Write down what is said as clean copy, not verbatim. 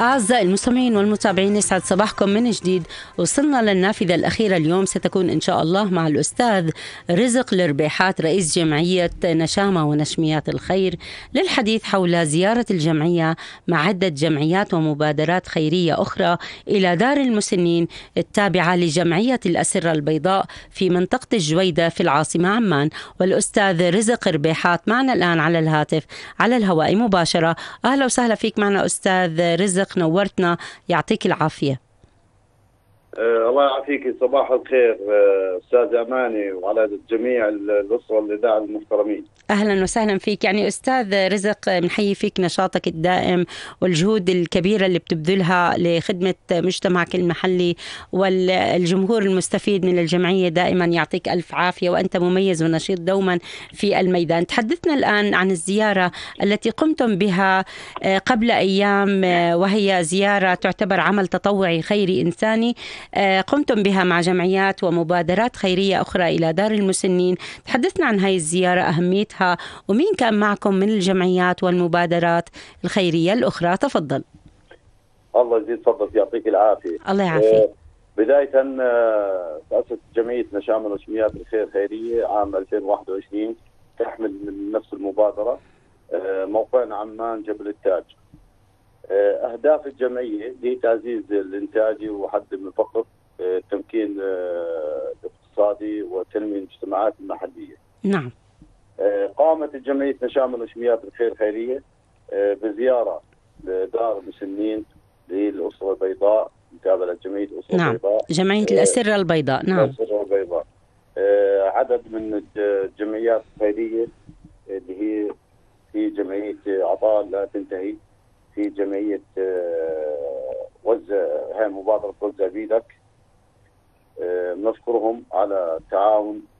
أعزائي المستمعين والمتابعين، يسعد صباحكم من جديد. وصلنا للنافذة الأخيرة اليوم، ستكون إن شاء الله مع الأستاذ رزق الربيحات رئيس جمعية نشامة ونشميات الخير للحديث حول زيارة الجمعية مع عدة جمعيات ومبادرات خيرية أخرى إلى دار المسنين التابعة لجمعية الأسرة البيضاء في منطقة الجويدة في العاصمة عمان. والأستاذ رزق الربيحات معنا الآن على الهاتف على الهواء مباشرة. أهلا وسهلا فيك معنا أستاذ رزق، نورتنا، يعطيك العافية. الله يعافيك، صباح الخير أستاذ أماني وعلى جميع الأسرة الإذاعة المحترمين. أهلا وسهلا فيك. يعني أستاذ رزق، بنحيي فيك نشاطك الدائم والجهود الكبيرة اللي بتبذلها لخدمة مجتمعك المحلي والجمهور المستفيد من الجمعية. دائما يعطيك ألف عافية، وأنت مميز ونشيط دوما في الميدان. تحدثنا الآن عن الزيارة التي قمتم بها قبل أيام، وهي زيارة تعتبر عمل تطوعي خيري إنساني قمتم بها مع جمعيات ومبادرات خيرية أخرى إلى دار المسنين. تحدثنا عن هاي الزيارة، أهميتها، ومين كان معكم من الجمعيات والمبادرات الخيرية الأخرى. تفضل. الله يزيد فضلك، يعطيك العافية. الله يعافيك. بداية تأسست جمعية نشامة ونشميات الخير خيرية عام 2021، تحمل من نفس المبادرة. موقعنا عمان جبل التاج. أهداف الجمعية هي تعزيز الإنتاجي وحد من الفقر، التمكين الاقتصادي وتنمية المجتمعات المحلية. نعم. قامت الجمعية نشامة ونشميات الخير خيرية بزيارة لدار المسنين للأسرة البيضاء، متابعة جمعية الأسرة نعم. البيضاء، جمعية الأسرة البيضاء. نعم. الأسرة البيضاء. عدد من الجمعيات الخيرية اللي هي في جمعية عطاء لا تنتهي، في جمعية هاي مبادرة وزع بيدك. نشكرهم على التعاون